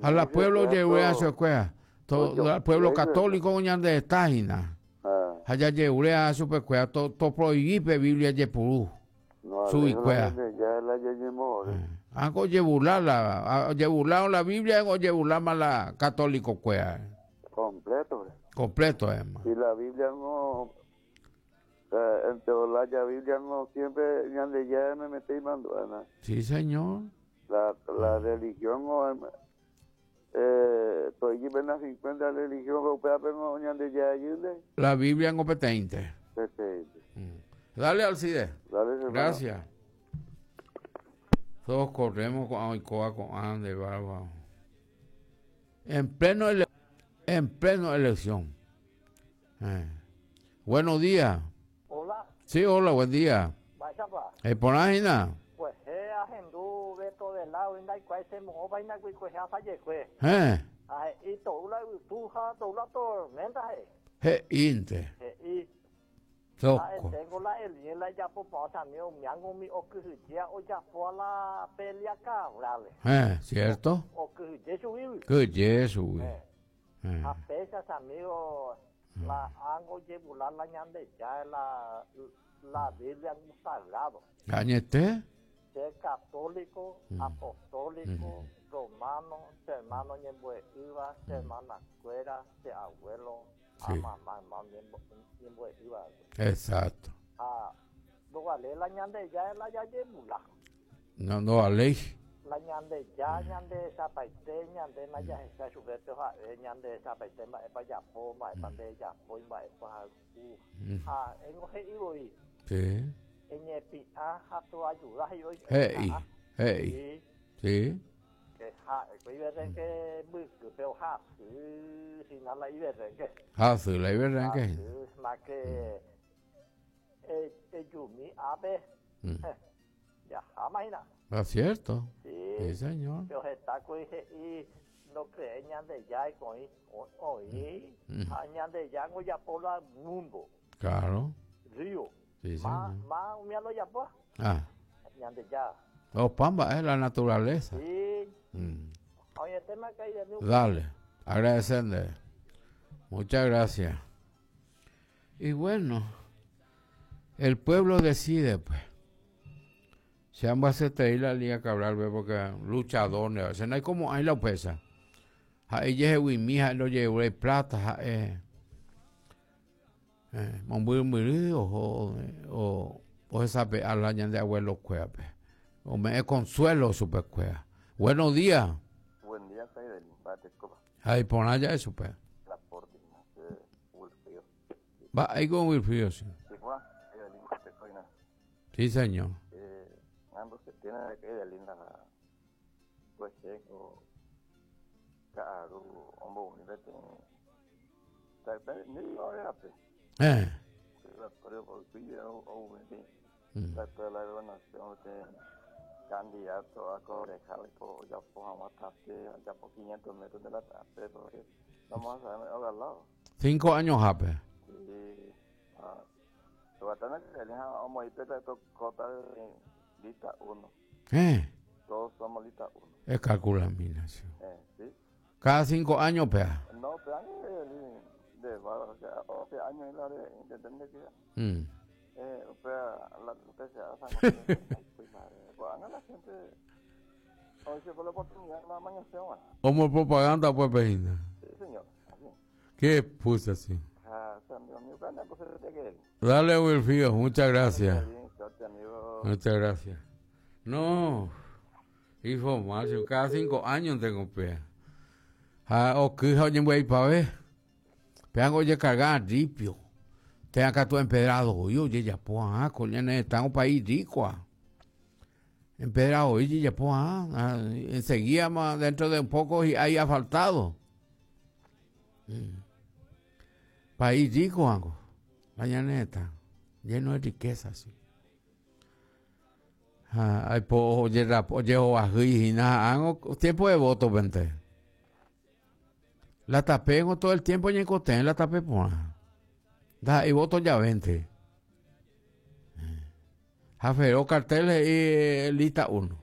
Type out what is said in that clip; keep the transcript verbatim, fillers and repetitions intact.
A la pueblo ojerurea todo al pueblo católico ñande tágina. Ha jajerurea chupekuéra to to prohibí pe Biblia jepuru. Chuguikuéra. Ako ojeburla la ojeburla la Biblia ojeburlama la católico kuéra. Completo. Completo, hermano. Y la Biblia no entre la Biblia no siempre ñande ya me metí mando. Sí, señor. La la religión no eh estoy en la cincuenta religión europea pero no ñande ya ayude. La Biblia en competente. Competente. Mm. Dale, Alcide. Dale, gracias. Todos corremos con Oicoa, con Ande, barba. En pleno ele en pleno elección. Eh. Buenos días. Hola. Sí, hola, buen día. Vaya pa. Eh, por ahí, na. Pues eh, agendú Beto de lado, inda y cuál se mojó, vaina y cuál se hace pues. Eh. Ay, y toda la tuja, toda la tormenta, eh. Je, inte. Je, y. Soco. Tengo la el la ya por pasa mío, me hago mi o que ya o ya fue a la pelea cabrales. Eh, cierto. O que Jesús. Que Jesús. Eh. Eh. A pesas, amigo, la ango yebular la ñande ya la la Biblia es un sagrado. ¿Cañete? Ser católico, mm. apostólico, mm. romano, ser hermano ñembueíba, ser hermana cuera, ser abuelo, sí. A mamá, hermano ñembueíba. Exacto. Ah, no vale la ñande ya la ya yebula. No, no vale. La ñande ya ñande zapaite ñande na ya esa chupete ja ñande zapaite ma epa ya po ma epa de ya po ma epa u ah en oje ibo sí en pi a ja tu ayuda y hoy hey hey sí que ja que iberren que busque pero ja si na la iberren que ja sí la iberren que ma que eh eh yumi abe ya jamás. ¿Es cierto? Sí, sí, señor. Pero está con y no creen ñande ya y con hoy ñande ya no ya por la mundo. Claro. Río. Sí, señor. Más más un lo ya por. Ah. Ñande ya. Oh, pamba es la naturaleza. Sí. Mm. Oye, tema que hay de Dale, agradecerle. Muchas gracias. Y bueno, el pueblo decide, pues. Se han a la Liga Cabral, porque luchador, no hay como hay la pesa. Ella es mi lo llevó plata, eh, eh, o o o esa a la de abuelo cueva, o me consuelo super cueva. Buenos días. Buen día, soy del Ay, por allá eso pues. Va ahí con Wilfrido, sí. Sí, señor. Se tiene que de linda pues o caro hombre univete ni lo era eh pero por o la gobernación candidato a concejal ya pongamos ya por quinientos metros de la tarde porque vamos a ver al lado cinco años jape sí ah lo lista uno. ¿Eh? Todos somos lista uno. Es calcula, mina, sí. Eh, sí. Cada cinco años, pea. No, pero de, de, o sea, once años la de, de, que mm. Eh, o sea, la que se hace, pues la gente, hoy se fue la oportunidad, la mañana. Como propaganda, pues, peina. Sí, señor. Así. ¿Qué puse así? Ah, amigo, Dale, Wilfrido, muchas gracias. Amigo. Muchas gracias. No, información, cada cinco años tengo pea. Ah, o que oye voy pa ver. Pean oye cargar ripio. Te acá tú empedrado, oye ya po ah, coño, está un país rico. Ah. Empedrado, oye ya po ah, enseguida más dentro de un poco y hay asfaltado. Mm. País rico, algo. La llaneta, lleno de riqueza, sí. Ah, ay, po, oye, rap, oye, oye, nada, tiempo de voto, vente. La tapé todo el tiempo en el la tapé por. Da, y voto ya vente. Jaferó carteles y lista uno.